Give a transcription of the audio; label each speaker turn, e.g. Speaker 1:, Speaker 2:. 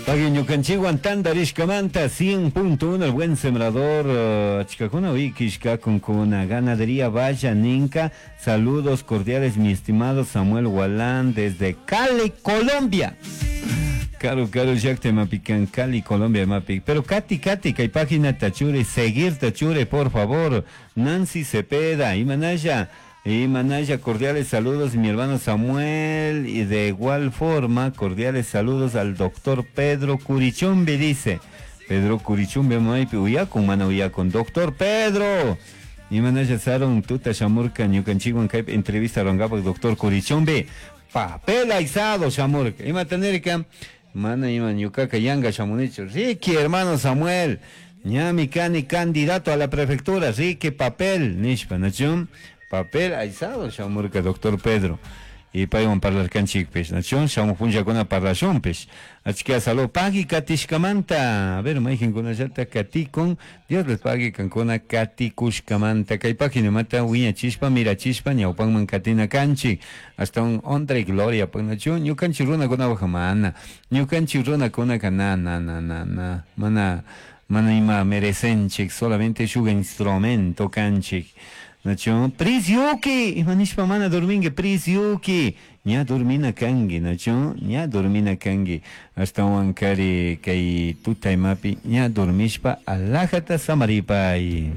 Speaker 1: Pagui ñukanchikwan tantarishkamanta 100.1 El Buen Sembrador achkakuna wikishkakunkuna Ganadería Valla Ninka. Saludos cordiales, mi estimado Samuel Gualán, desde Cali, Colombia. Caro, caro, llakta imapi kan Cali, Colombia imapi. Pero Katy, Katy, kay página tachure, seguir tachure, por favor. Nancy Cepeda, Imanaya. Imanaya, cordiales saludos, mi hermano Samuel. Y de igual forma, cordiales saludos al doctor Pedro Curichumbi, dice. Pedro Curichumbi, maypi uyakun, mana uyakun. Doctor Pedro. Imanaya sarun tuta shamurka ñukanchikwan kaypi entrevista rurankapak doctor Curichumbi. Papel aysado shamurka. Imata nirka? Mana ima ñukaka yanga shamunichu. Ricky, hermano Samuel. Ñami kani candidato a la prefectura. Ricky papel. Nishpa, ¿nachu? Papel aysado shamurka doctor Pedro. Y paywan parlarkanchikpish, ¿nachu? Shamuq punllakuna parlashunpish. Achka salud pagui katishkamanta. A ver, mayqinkunallata katikun. Dios les pague kankuna katikushkamanta. Kay paginamanta wiñachishpa, mirachishpa, ñawpanman katina kanchik. Hasta un honra y gloria, pues, ¿nachu? Ñukanchik runakunapaj mana. Ñukanchik runakunaka na, na, na, na, na. Mana, mana ima merecenchik, solamente shuk instrumento kanchik. Nachu? Prisyuki, ima nishpa mana dormingi, prisyuki. Ña dormina kanki, nachu? Ña dormina kanki. Ashtawan kari kay tuta imapi ña dormishpa alajata samaripay.